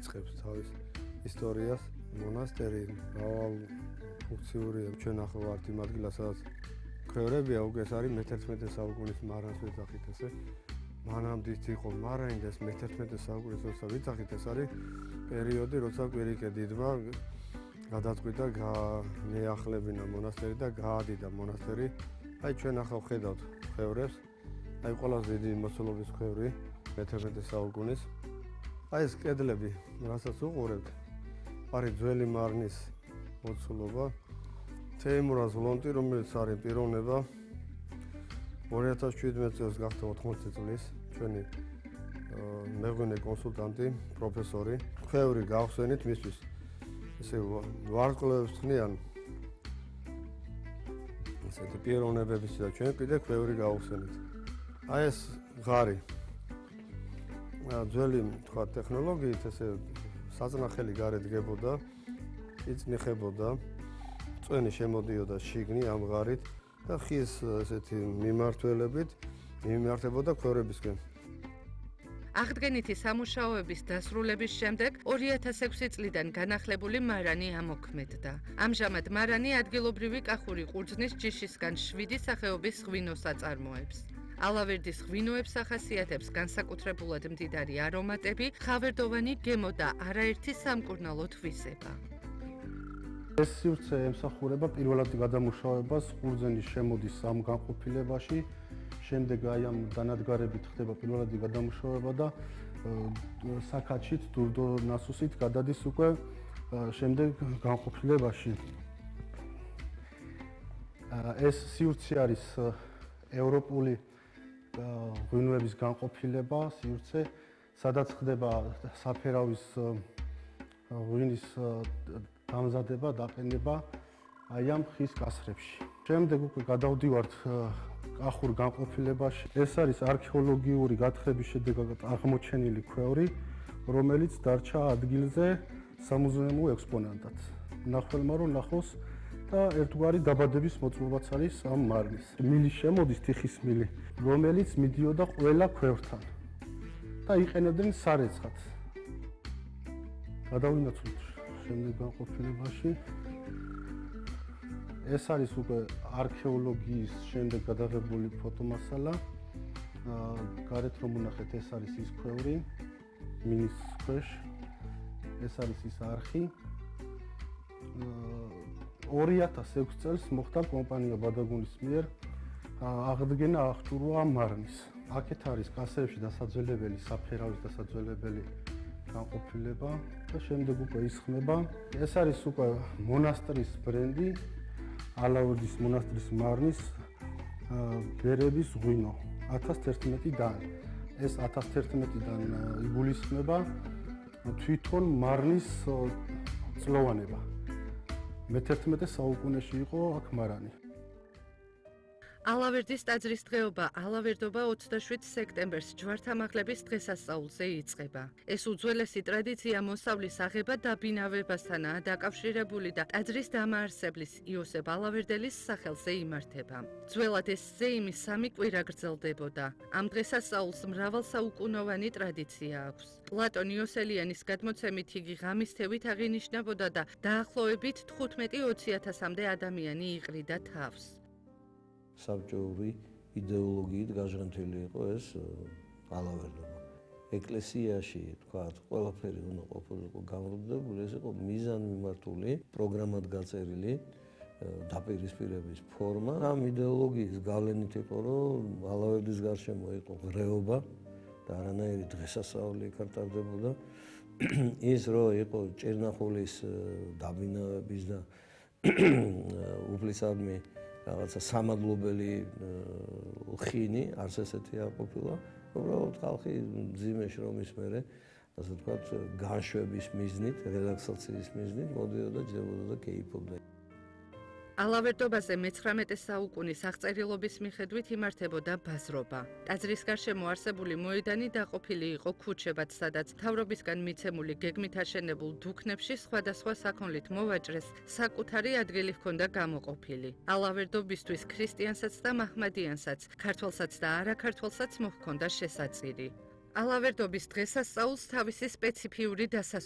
იწყებს თავის ისტორიას. მონასტერი მრავალფუნქციურია. ჩვენ ახლა ვართ იმ ადგილას, სადაც ქვევრებია, უკვე ეს არის მე-11 საუკუნის მარანს ვიძახით ესე. მანამდე იყო მარანი და ეს მე-11 საუკუნის როცა ვიძახით, ეს არის პერიოდი, როცა კვირიკე დიდმა გადაწყვიტა გაეახლებინა მონასტერი და გაადიდა მონასტერი. აი ჩვენ ახლა ვხედავთ ქვევრებს. აი ყველაზე დიდი მოცულობის ქვევრი მე-11 საუკუნის. აი ეს კედლები, რასაც უყურებთ, არის ძველი მარნის მოცულობა. თეიმურაზ ლონტი, რომელიც არის პიროვნება 2017 წელს გახდა 80 წლის, ჩვენი მეღვინე კონსულტანტი, პროფესორი. ქვევრი გავხსენით მისთვის ესე ვარსკვლავებს ხნიან ესეთი პიროვნებების და ჩვენ კიდე ქვევრი გავხსენით. აი ეს ღარი ძველი თქვა ტექნოლოგიით ესე საწნახელი გარეთ დგებოდა, იწნიხებოდა, წვენი შემოდიოდა შიგნი ამ ღარით და ხის ესეთი მიმართველებით მიმართებოდა ქვევრებისკენ. აღდგენითი სამუშაოების დასრულების შემდეგ 2006 წლიდან განახლებული მარანი ამოქმედდა. ამჟამად მარანი ადგილობრივი კახური ყურძნის ჯიშისგან 7 სახეობის ღვინოს აწარმოებს. ალავერდის ღვინოებს ახასიათებს განსაკუთრებულად მდიდარი არომატები, ხავერდოვანი გემო და არაერთი სამკურნალო თვისება. ეს სივრცე ემსახურება პირველად გადამუშავებას ყურძნის შემოდის ამ განყოფილებაში, შემდეგ აი ამ დანადგარებით ხდება პირველადი გადამუშავება და საქაჩით, დურდო ნასუსით გადადის უკვე შემდეგ განყოფილებაში. ეს სივრცე არის ევროპული ღვინოების განყოფილება, სივრცე, სადაც ხდება საფერავის ღვინის დამზადება, დაყენება აი ამ ხის კასრებში. შემდეგ უკვე გადავდივართ კახურ განყოფილებაში. ეს არის არქეოლოგიური გათხრების შედეგად აღმოჩენილი ქვევრი, რომელიც დარჩა ადგილზე სამუზეუმო ექსპონატად. მნახველმა რომ ნახოს და ერთგვარი დაბადების მოწმობაც არის ამ მარნის. მილი შემოდის, თიხის მილი, რომელიც მიდიოდა ყველა ქვევრთან და იყენებდნენ სარეცხად. გადავინაცვლოთ შემდეგ განყოფილებაში. ეს არის უკვე არქეოლოგიის შემდეგ გადაღებული ფოტომასალა. გარეთ რომ ვნახეთ, ეს არის ის ქვევრი მინის ქვეშ. ეს არის ის არხი. 2006 წელს მოხდა კომპანია ბადაგუნის მიერ აღდგენა აღჭურვა მარნის. აქეთ არის კასრებში დასაძველებელი, საფერავის დასაძველებელი განყოფილება და შემდეგ უკვე ისხმება. ეს არის უკვე მონასტრის ბრენდი, ალავერდის მონასტრის მარნის ბერების ღვინო 1011-დან. ეს 1011-დან იგულისხმება თვითონ მარნის წლოვანება. მე-11 საუკუნეში იყო აქ მარანი. ალავერდის ტაძრის დღეობა ალავერდობა 27 სექტემბერს ჯვართამაღლების დღესასწაულზე იწყება. ეს უძველესი ტრადიცია მოსავლის აღება დაბინავებასთანაა დაკავშირებული და ტაძრის დამაარსებლის იოსებ ალავერდელის სახელზე იმართება. ძველად ეს ზეიმი 3 კვირა გრძელდებოდა. ამ დღესასწაულს მრავალსაუკუნოვანი ტრადიცია აქვს. პლატონ იოსელიანის გადმოცემით იგი ღამის თევით აღინიშნებოდა და დაახლოებით 15-20,000-მდე ადამიანი იყრიდა თავს. საბჭოური იდეოლოგიით გაჟღენთილი იყო ეს ალავერდობა. ეკლესიაში, თქვათ, ყველაფერი უნდა ყოფილიყო გამრუდებული, ეს იყო მიზანმიმართული, პროგრამად გაწერილი დაპირისპირების ფორმა. ამ იდეოლოგიის გავლენით იყო, რომ ალავერდის გარშემო იყო ღრეობა და არანაირი დღესასწაული ეკარტარდებოდა. ის რომ იყო ჭერნახულის დაბინავების და უფლისადმი რაღაცა სამადლობელი ხინი, არც ესეთი არ ყოფილა. უბრალოდ ხალხი მძიმე შრომის მერე, ასე ვთქვათ, განშვების მიზნით, რელაქსაციის მიზნით მოდიოდა, ჯდებოდა და კეიფობდა. ალავერდობაზე მე-19 საუკუნის აღწერილობის მიხედვით იმართებოდა ბაზრობა. ტაძრის გარშემო არსებული მოედანი დაყოფილი იყო ქუჩებად, სადაც მთავრობისგან მიცემული გეგმით აშენებულ დუქნებში სხვადასხვა საქონლით მოვაჭრეს საკუთარი ადგილი ჰქონდა გამოყოფილი. ალავერდობისთვის ქრისტიანსაც და მაჰმადიანსაც, ქართველსაც და არაქართველსაც მოჰქონდა შესაწირი. ალავერდობის დღესასწაულს თავისი სპეციფიური დასასრულს